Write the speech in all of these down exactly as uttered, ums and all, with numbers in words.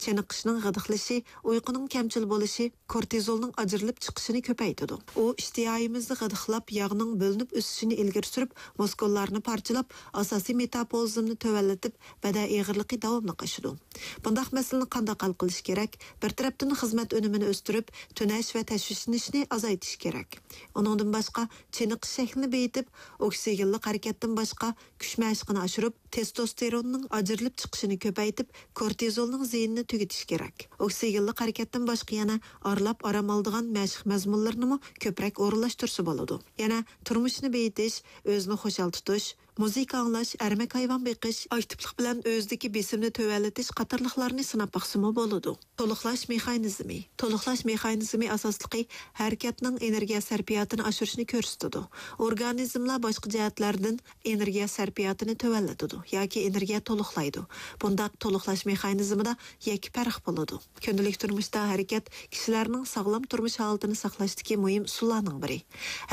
چېنىقىشنىڭ غىدىقلىشى، ئۇيقۇنىڭ كەمچىل بولۇشى كورتىزولنىڭ ئاجرىلىپ چىقىشىنى كۆپەيتىدۇ. ئۇ ئىشتىھايىمىزنى غىدىقلاپ، ياغنىڭ بۆلۈنۈپ ئۆسۈشىنى ئىلگىرى سۈرۈپ، مۇسكۇللارنى پارچىلاپ، ئاساسىي مېتابولىزمنى تۆۋەنلىتىپ، بەدەن ئېغىرلىقى داۋاملىق ئاشىدۇ. بۇنداق مەسىلىنى قانداق ھەل قىلىش كېرەك؟ بىر تەرەپتىن خىزمەت ئۈنۈمىنى ئۆستۈرۈپ، تۈنەش ۋە تەشۋىشلىنىشنى ئازايتىش كېرەك. ئۇنىڭدىن باشقا، چېنىقىش شەكلىنى بېيىتىپ، ئوكسىگېنلىق ھەرىكەتتىن باشقا، كۈچ مەشقىنى ئاشۇرۇپ، تېستوستېروننىڭ ئاجرىلىپ چىقىشىنى كۆپەيتىپ، كورتىزولنىڭ زىيىنىنى تۈگىتىش كېرەك. ئوكسىگېنلىق ھەرىكەتتىن باشقا يەنە ئارىلاپ ئارام ئالىدىغان مەشىق مەزمۇنلىرىنىمۇ كۆپرەك ئورۇنلاشتۇرسا بولىدۇ. يەنە تۇرمۇشنى بېيىتىش، ئۆزىنى خۇشال تۇتۇش، مۇزىكا ئاڭلاش، ئەرمەك ھايۋان بېقىش، ئاكتىپلىق بىلەن ئۆزىدىكى بېسىمنى تۆۋەنلىتىش قاتارلىقلارنى سىناپ باقسىمۇ بولىدۇ. تولۇقلاش مېخانىزمى. تولۇقلاش مېخانىزمى ئاساسلىقى ھەرىكەتنىڭ ئېنېرگىيە سەرپىياتىنى ئاشۇرۇشنى كۆرسىتىدۇ. ئورگانىزملار باشقا جەھەتلەردىن ئېنېرگىيە سەرپىياتىنى تۆۋەنلىتىدۇ ياكى ئېنېرگىيە تولۇقلايدۇ. بۇنداق تولۇقلاش مېخانىزمىدا يەككە پەرق بولىدۇ. كۈندىلىك تۇرمۇشتا ھەرىكەت كىشىلەرنىڭ ساغلام تۇرمۇش ھالىتىنى ساقلاشتىكى مۇھىم ئۇسۇللارنىڭ بىرى.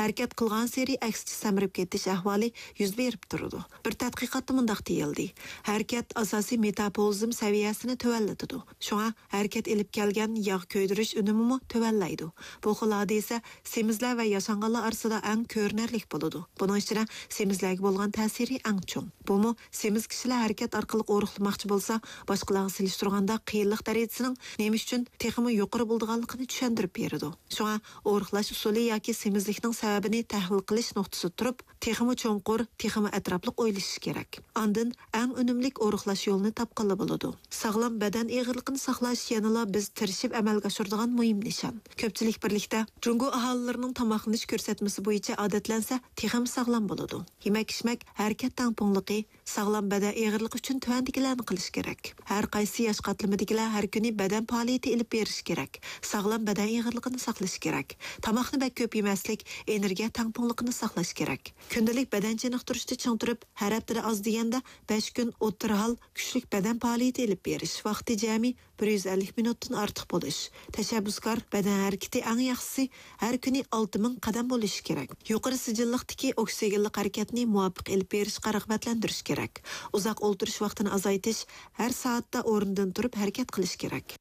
ھەرىكەت قىلغانسېرى ئەكسىچە سەمرىپ كېتىش ئەھۋالى يۈز بېرىپ تۇرىدۇ. بىر تەتقىقاتتا مۇنداق دېيىلدى: ھەرىكەت ئاساسىي مېتابولىزم سەۋىيەسىنى تۆۋەنلىتىدۇ. شۇڭا ھەرىكەت ئېلىپ كەلگەن ياغ كۆيدۈرۈش ئۈنۈمىمۇ تۆۋەنلەيدۇ. بۇ خىل ھادىسە سېمىزلەر ۋە ياشانغانلار ئارىسىدا ئەڭ كۆرۈنەرلىك بولىدۇ. بۇنىڭ ئىچىدە سېمىزلەرگە بولغان تەسىرى ئەڭ چوڭ. بۇمۇ سېمىز كىشىلەر ھەرىكەت ئارقىلىق ئورۇقلىماقچى بولسا، باشقىلارغا سېلىشتۇرغاندا قىيىنلىق دەرىجىسىنىڭ نېمە ئۈچۈن تېخىمۇ يۇقىرى بولىدىغانلىقىنى چۈشەندۈرۈپ بېرىدۇ. شۇڭا ئورۇقلاش ئۇسۇلى ياكى سېمىزلىكنىڭ سەۋەبىنى تەھلىل قىلىش نۇقتىسىدا تۇرۇپ، تېخىمۇ چوڭقۇر، تېخىمۇ ئەتراپلىق ئويلىشىش كېرەك. ئاندىن ئەڭ ئۈنۈملۈك ئورۇقلاش يولىنى تاپقىلى بولىدۇ. ساغلام بەدەن ئېغىرلىقىنى ساقلاش يەنىلا بىز تىرىشىپ ئەمەلگە ئاشۇرىدىغان مۇھىم نىشان. كۆپچىلىك بىرلىكتە جۇڭگو ئاھالىلىرىنىڭ تاماقلىنىش كۆرسەتمىسى بويىچە ئادەتلەنسە، تېخىمۇ ساغلام بولىدۇ. يېمەك-ئىچمەك، ھەرىكەت تەڭپۇڭلۇقى، ساغلام بەدەن ئېغىرلىقى ئۈچۈن تۆۋەندىكىلەرنى قىلىش كېرەك. ھەر قايسى ياش قاتلىمىدىكىلەر ھەر كۈنى بەدەن پائالىيىتى ئېلىپ بېرىش كېرەك. ساغلام بەدەن ئېغىرلىقىنى ساقلىشى كېرەك. تاماقنى بەك كۆپ يېمەسلىك، ئېنېرگىيە تەڭپۇڭلۇقىنى ساقلاش كېرەك. كۈندىلىك بەدەن چېنىقتۇرۇشتا چىڭ تۇرۇپ، ھەر ھەپتىدە ئاز دېگەندە بەش كۈن ئوتتۇرا ھال كۈچلۈك بەدەن پائالىيىتى ئېلىپ بېرىش. ۋاقتى جەمئىي بىر يۈز ئەللىك مىنۇتتىن ئارتۇق بولۇش. تەشەببۇسكار بەدەن ھەرىكىتى ئەڭ ياخشىسى ھەر كۈنى ئالتە مىڭ قەدەم بولۇشى كېرەك. يۇقىرى سىجىللىقتىكى ئوكسىگېنلىق ھەرىكەتنى مۇۋاپىق ئېلىپ بېرىشقا رىغبەتلەندۈرۈش كېرەك. ئۇزاق ئولتۇرۇش ۋاقتىنى ئازايتىش، ھەر سائەتتە ئورنىدىن تۇرۇپ ھەرىكەت قىلىش كېرەك.